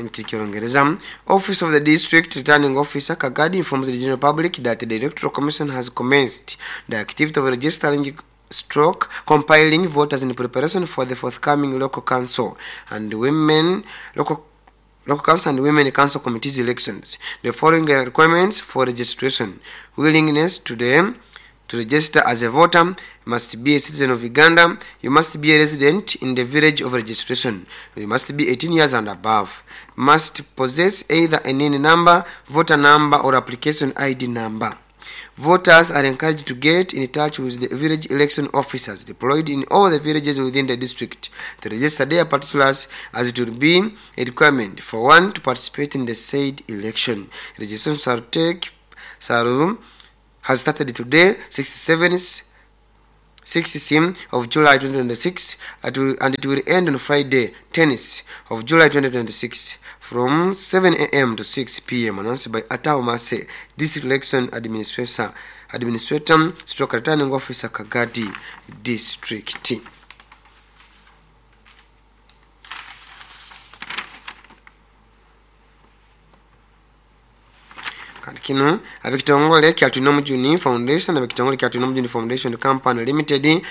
Kino Office of the District Returning Officer Kagadi informs the general public that the Electoral Commission has commenced the activity of registering stroke compiling voters in preparation for the forthcoming local council and women local council and women council committees elections. The following are requirements for registration: willingness to register as a voter, must be a citizen of Uganda, you must be a resident in the village of registration, you must be 18 years and above, must possess either a NIN number, voter number, or application ID number. Voters are encouraged to get in touch with the village election officers deployed in all the villages within the district to register their particulars, as it will be a requirement for one to participate in the said election. Registration shall take shall has started today, 67 6 of July 2026, and it will end on Friday, 10th of July 2026, from 7 a.m. to 6 p.m. Announced by Atao Mase, District Election Administrator, Stroke Returning Officer, Kagadi District. Kandi kino ab'ekitongole kya Twinomujuni Foundation, ab'ekitongole kya Twinomujuni Foundation Company Limited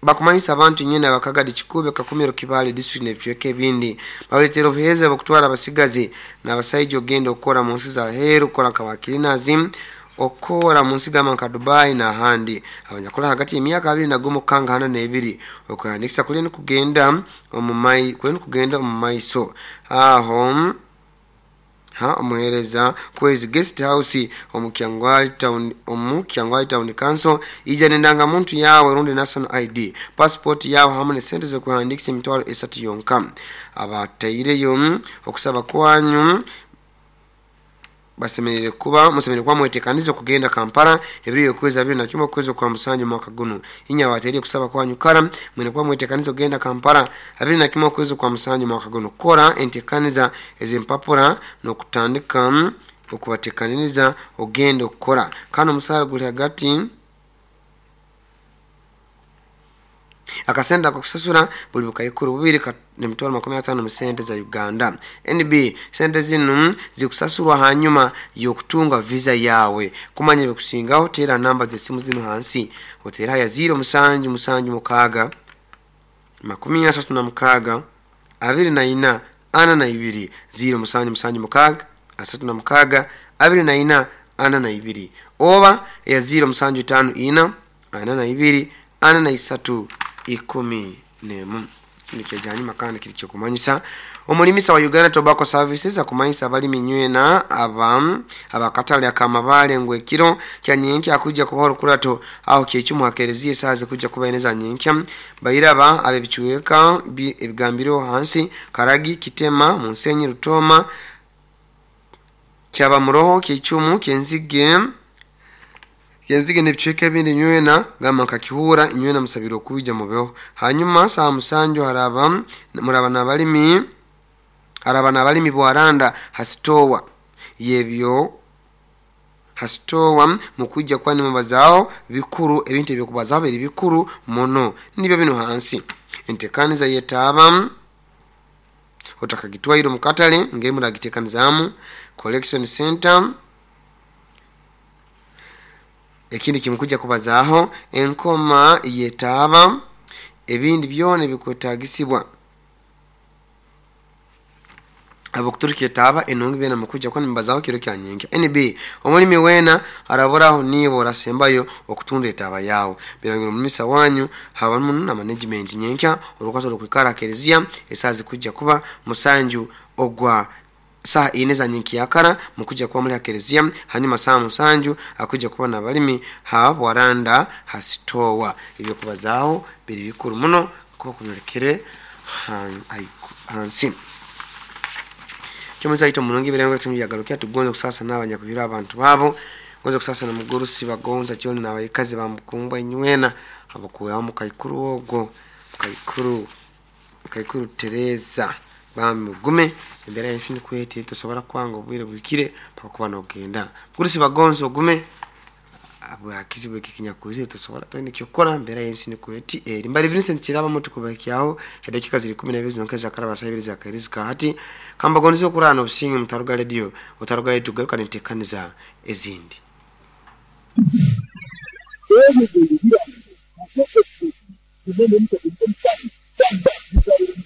bakumanyisa abantu nyine abakagadi Kikube, Kakumiro, Kibale district n'ebicweka ebindi, baleetera obuheereza bw'okutwara abasigazi n'abasaija ogenda okukora mu nsi za heeru, kukora nka bakirinazi, okukora mu nsi gamba nka Dubai n'ahandi, abanyakora hagati y'emyaka 21 kukanga 42. Okuhandikisa kuli nikugenda omu maiso aho ha omuhereza kwezi guest house omu Kyangwali Town Council. Ija n'endangamuntu yawe rundi national ID, passport yawe, hamwe nesente z'okuhandikisa 30,000 yonka. Abataireyo okusaba kwanyu basemerere kuba musemerere kuba mwetekanize okugenda Kampala ebiro okwezi 21 okwezi kwa 7 mwaka guno. Inya abateire kusaba kwanyu kara mwine kuba mwetekanize okugenda Kampala 21 okwezi kwa 7 mwaka guno. Kora entekaniza ez'empapura n'okutandika okubatekaniriza ogenda okukora. Kandi omusaara guli hagati akasente akokusasura buli 2000 n'emitwaro 50 mu sente za Uganda. NB, sente zinu zikusasurwa hanyuma y'okutunga visa yawe. Kumanya ebikusingaho, teera namba z'esimu zinu hansi. Oteera ya 0776 36 24 42, 0776 36 24 42, oba eya 0754 42 43 11. Kino kyejanyuma kandi kiri kyokumanyisa omulimisa wa Uganda Tobacco Services akumanyisa abalimi nywena aba abakatale akamabale ngu ekiro kya nyenkya akujja kubaho orukurato aho kyekimu hakereziya esaaha zikujja kuba ine za nyenkya. Bairaba ab'ebicweka ebigambireho hansi: Karagi, Kitema, Munsenyi, Rutoma, Kyabamuroho, Kyecumu, Kyenzige n'ebicweka ebindi nywena gamba nka Kihura, inywena musabire okwija mubeho. Hanyuma saa 7 haraba muraba n'abalimi, haraba n'abalimi bwaranda hasitowa yebyo hasitowa mukujja kwani mubazaaho bikuru, ebintu ebyokubazaho biri bikuru muno nibyo bino hansi: entekaniza yetaaba otakagitwaire omu katale, ngeri muragitekanizamu, collection center. Ekindi kimukujja kubazaaho enkoma yetaaba, ebindi byona ebikwetagisibwa abokuturika etaaba enungi, byona mukujja kuba nimubazaho kiro kya nyenkya. NB, omulimi weena araburaho niiwe orasembayo okutunda etaaba yawe. Birangira omumisa wanyu habamu na management. Nyenkya orukwato rukwikara akereziya esaaha zikujja kuba 7 ogwa saa 4 za nyenkya mukujja kuba muri akereziya. Hanyuma saa 7 akujja kuba n'abalimi ha bwaranda hasitowa. Ebyo kubazaho biri bikuru muno kuba kubyolekere hansi. Kyomusa ito mulungi birengo tunyagarukia tugonze kusasa n'abanyakuhira abantu babo, gonze kusasa na mugurusi bagonza kyoni n'abayikazi bamukumbwa inywena abakuwa mukaikuru ogwo mukaikuru Teresa. Bambi mugume, embeera y'ensi nikwete, tosobora kwanga obwire bwikire paka kuba nogenda. Mugurusi bagonza ogume. Habwa kizibu eki ekinyakwizire, tosobora, toine ekyokukora, mbeera y'ensi nikwo eti eri. Mbali Vincent Kiraba muti kubahikyaho edakiika ziri 12 zonka ezakaraba saa 2 zakahirizika. Hati kambagonize okurara n'obusinge, mutaruga radio, otaruga radio, tugaruka nenteekaniza ezindi.